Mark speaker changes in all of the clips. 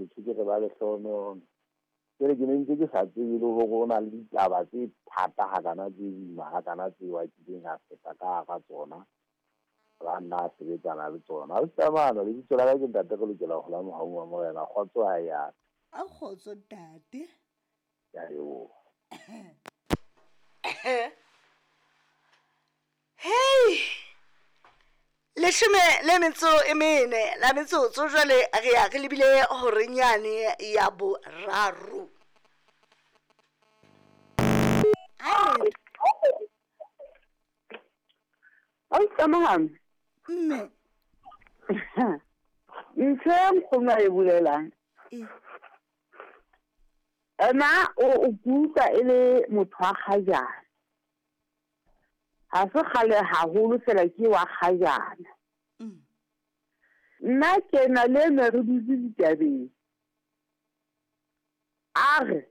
Speaker 1: Ke tjho ke re ba lehlohonono. Jwale ke ne ntse ke sa tsebe le hore o na le ditaba tse thata hakana, tse boima hakana, tseo a kileng a feta ka hara tsona, ba nna a sebetsana le tsona. Ha o tsamana lebitso la ka ke ntate re lokela ho la mohau wa Morena. Kgotso ha ya.
Speaker 2: A kgotso ntate.
Speaker 1: Ke a leboha.
Speaker 2: Hei! 14 la metsotso jwale re ya re lebile horeng yane ya boraro.
Speaker 3: Ausi
Speaker 2: Mme.
Speaker 3: Ntho e nkgono a e bolelang. Ena o kutlwa e le motho wa kgajana. Ha se kgale haholo fela ke wa kgajana. Nna ke na le ena re dutse ditabeng. A re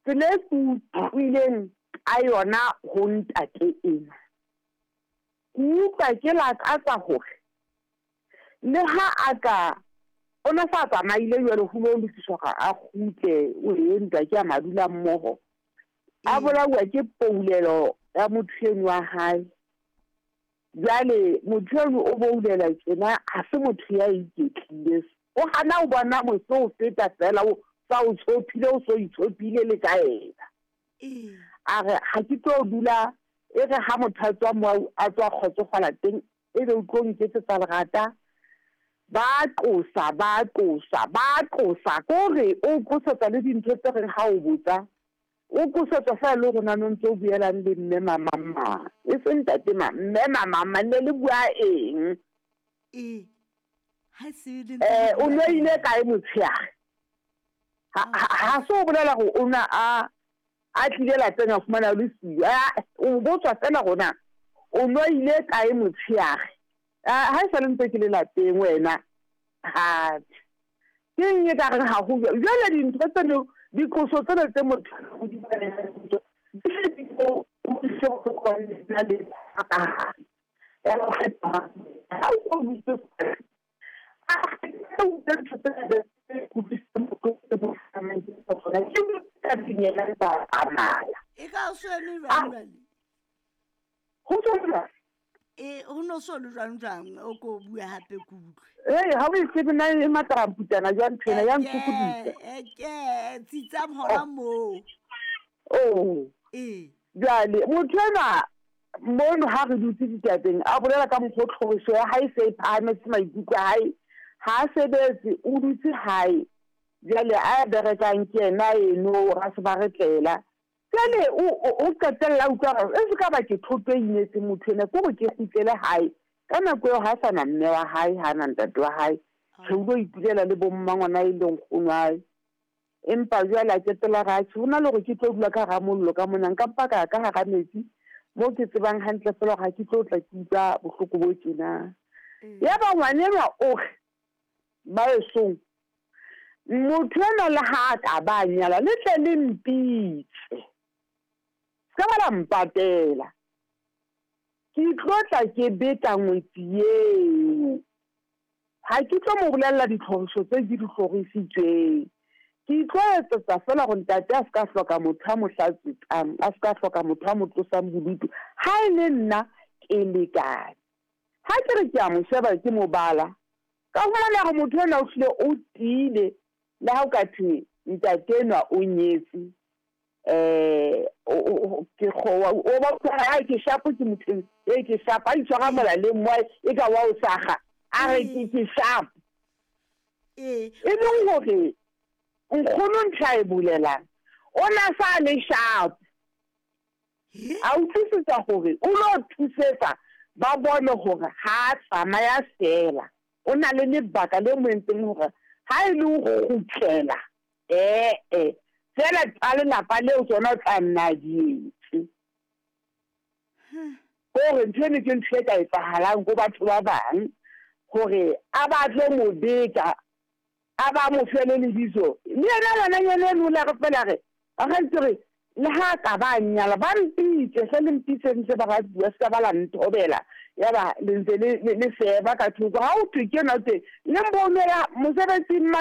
Speaker 3: tsela e ke utlwileng ka yona ho ntate ena. Ke utlwa ke lakatsa hore le ha a ka o ne sa tsamaile jwale ho lo lokiswa hore a kgutle o e ntwa ke ya madula mmoho. A bolauwa ke poulelo ya motho eno wa hae. Jwale motho eno o boulela tjena ha se motho ya iketlile. O hana o bona mose o feta fela o sa o tshophile o so itshophile le ka yena. A re ha ke tlo dula e re ha motho a tswa mo a tswa kgotsofala teng ebe o tlo nketsetsa lerata. Ba qosa ba qosa ba qosa kore o qosetsa le dintho tse reng ha o botsa o qosetsa fela le rona no ntso buelang le mme mamang e seng ntate ma mme mamang ne le bua eng.
Speaker 2: Ha se le
Speaker 3: O no ile kae motshehare? Ha se o bolela hore o na a tlile lapeng a fumana le siyo. O botswa fela rona o no ile kae motshehare? Ha e sale ntse ke le lapeng wena. Ha ke eng e ka reng ha ho jwale dintho tseno diqoso tsena tse motho o di di o le ka hare. Ya o kgetha ha o butse a o ntho tsena tse kutlwisisang bohloko tse mo hlahamang ke tsona ke ka dinyela ba tsamaya.
Speaker 2: E ka o so eme jwang jwale?
Speaker 3: Ho tswa jwang?
Speaker 2: E ho no so le jwang jwang o ko bua hape ke utlwe.
Speaker 3: Hey, ha o e tsebe na e mataramputana jwang ntho ena ya ntshokodisa.
Speaker 2: Ke tsitsang hona moo.
Speaker 3: Oh. Jwale motho enwa mono ha re dutse ditabeng a bolela ka mokgwa tlhoriso ya hae se e phahametse maikutlo a hae. Ha a sebetse o dutse hae. Jwale a berekang ke yena eno ra se ba re tlela. Jwale o qetella utlwa hore e se ka ba ke thoto e inetseng motho ena ke hore ke kgutlele hae. Ka nako eo ha sa na mme wa hae, ha na ntate wa hae. Re ulo itulela le bo mmangwana e leng nkgono wa hae. Empa jwale a qetella re atjhe ho na le hore ke tlo dula ka hara mollo ka mona nka mpa ka ya ka hara metsi mo ke tsebang hantle fela hore ha ke tlo tla ke utlwa bohloko bo tjena. Yaba ngwanenwa o re ba esong motho enwa le ha a ka ba nyala le tle le mpitse. Se ka ba la mpatela. Ke tlo tla ke beta ngwetsi eo. Ha ke tlo mo bolella ditlhoriso tse ke di hlorisitsweng. Ke tlo etsetsa fela hore ntate a se ka hloka motho a mo hlatswetsang, a se ka hloka motho a mo tlosang bodutu. Ha e le nna ke lekane. Ha ke re ke a mo sheba ke mo bala, ka fumana hore motho enwa o hlile o tiile le ha o ka thwe ntate enwa o nyetse. Ke kgowa o ba utlwa ha ke shapo ke motho e ke shapo a itshwara molaleng mo e ka wa o saga a re ke shapo. E leng hore nkgono ntho a e bolelang o na sa le shapo. A utlwisisa hore o lo thusetsa ba bone hore ha tsamaya fela. O na le lebaka le mo entseng hore ha e le ho kgutlela fela tsa lelapa leo tsona tla nna di etse. Hore ntho eno ke ntho e ka etsahalang ko batho ba bang hore a ba tlo mo beta a ba mo fe le lebitso. Le yena ngwananyana eno o la re fela re ba re le ha ka ba nyala ba mpitse hle le mpitse ntse ba ratuwa se ka ba la nthobela ya ba le ntse le seba ka thoko. Ha o thwe ke ena o teng le mbonela mosebetsing.